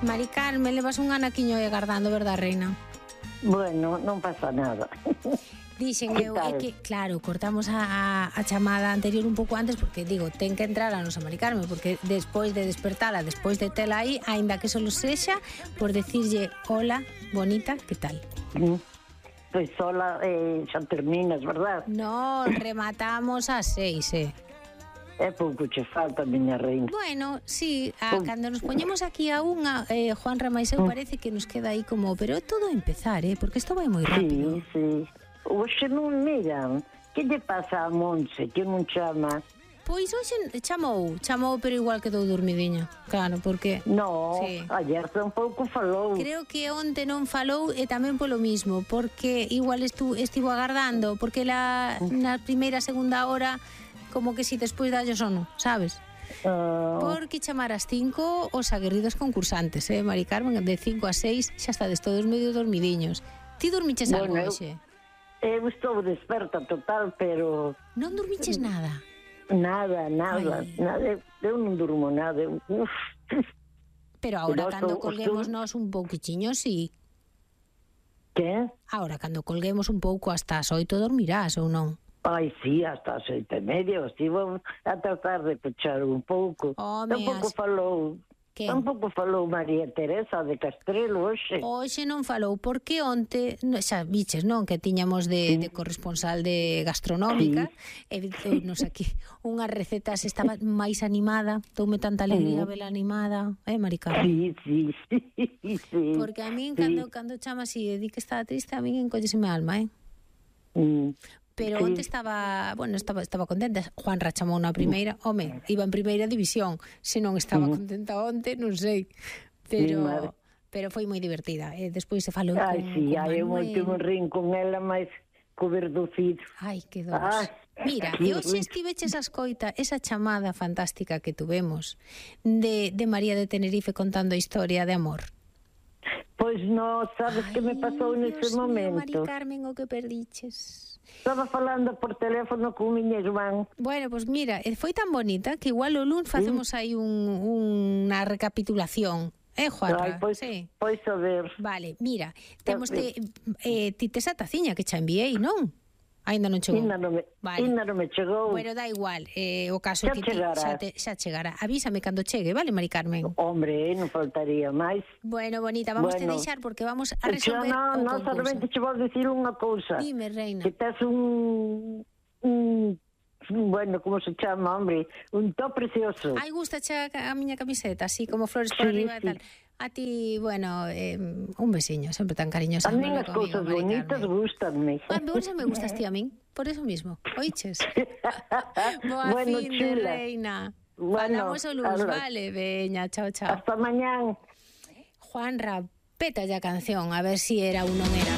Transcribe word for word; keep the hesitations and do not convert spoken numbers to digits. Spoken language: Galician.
Mari Carmen, levas un anaquiño aí agardando, verdad, reina? Bueno, non pasa nada. Dixen Que eu, tal? é que, claro, cortamos a, a chamada anterior un pouco antes porque, digo, ten que entrar a nosa Mari Carmen porque despois de despertala, despois de tela aí, aínda que solo sexa por decirlle, hola, bonita, que tal? Mm. Pois sola eh, xa terminas, verdad? No, rematamos a seis, eh? É pouco che falta, miña reina. Bueno, sí, a, Pum. cando nos poñemos aquí a unha, eh, Juan Ramaiseu, parece que nos queda aí como, pero é todo a empezar, eh, porque isto vai moi rápido. Sí, sí. Oxe non miran. Que lle pasa a Monse, que non chama? Pois hoxe chamou, chamou, pero igual quedou dormidiña. Claro, porque No, Sí. ayer tampouco falou. creo que onte non falou e tamén polo mismo, porque igual estu, estivo agardando, porque la, na primeira, segunda hora, como que si despois dallo sono, sabes? Ah, Porque chamar ás cinco os aguerridos concursantes, eh, Mari Carmen, de cinco a seis xa estades todos medio dormidiños. Ti dormiches algo Bueno, eu- hoxe? eu estou desperta total, pero Non dormiches nada? nada, nada, Ai. nada. Eu, eu non durmo nada. Eu, uf. Pero ahora Pero cando estou- colguemos estou- nós un pouquichiño, sí. Que? Ahora cando colguemos un pouco hasta as oito dormirás ou non? Ai, sí, hasta as oito e media. Estivo a tratar de pechar un pouco. Home, Tampouco as- falou... Que? Tampouco falou María Teresa de Castrelo hoxe. Hoxe non falou, porque onte, no, xa biches, non, que tiñamos de, de corresponsal de gastronómica, e nos aquí unhas recetas, estaba máis animada, toume tanta alegría vela animada, eh, Mari Carmen? Sí, sí, sí, sí. Porque a min, sí. cando, cando chama así e di que estaba triste, a min encolleseme a alma, eh? Mm. Pero Sí. onte estaba, bueno, estaba estaba contenta. Juan chamou na primeira, home, iba en primeira división. Se non estaba contenta onte, non sei. Mi Pero madre. pero foi moi divertida. E despois se falou Ai, con, sí, con ai, eu Manuel. último rin con ela máis co verducido. Ai, que dos. Ai, Mira, que e hoxe rico. estiveches a escoita esa chamada fantástica que tuvemos de, de María de Tenerife contando a historia de amor. Pois non, sabes que me pasou Ai, nese Dios mío, Mari momento? Carmen, o que perdiches. Estaba falando por teléfono con miña irmán. Bueno, pues mira, eh, foi tan bonita que igual o luns facemos aí un, unha recapitulación. Eh, Juanra? Ai, pois, Sí. pois a ver. Vale, mira, temos te, eh, ti tes a taciña que xa enviei, non? Ainda non chegou. Ainda non me, Vale. ainda non me chegou. Bueno, da igual, eh, o caso Xa que ti chegará. xa, te, xa chegará. Avísame cando chegue, vale, Mari Carmen? Hombre, non faltaría máis. Bueno, bonita, vamos Bueno. te deixar porque vamos a Xa resolver non, o non, concurso. solamente che vou dicir unha cousa. Dime, reina. Que tes un, un, bueno, como se chama, hombre, un top precioso. Ai, gusta a, a miña camiseta, así como flores por Sí, arriba e sí. tal. A ti, bueno, eh, un besiño, sempre tan cariñosa. A min Manolo, as conmigo, cousas Mari bonitas Carmen. gustanme. Ah, por eso me gustas ti a min, por eso mismo. Oiches? Boa Bueno, fin de chula. reina. Bueno, Falamos o luz, algo. vale, veña, chao, chao. Hasta mañán. Juanra, peta ya canción, a ver si era ou non era.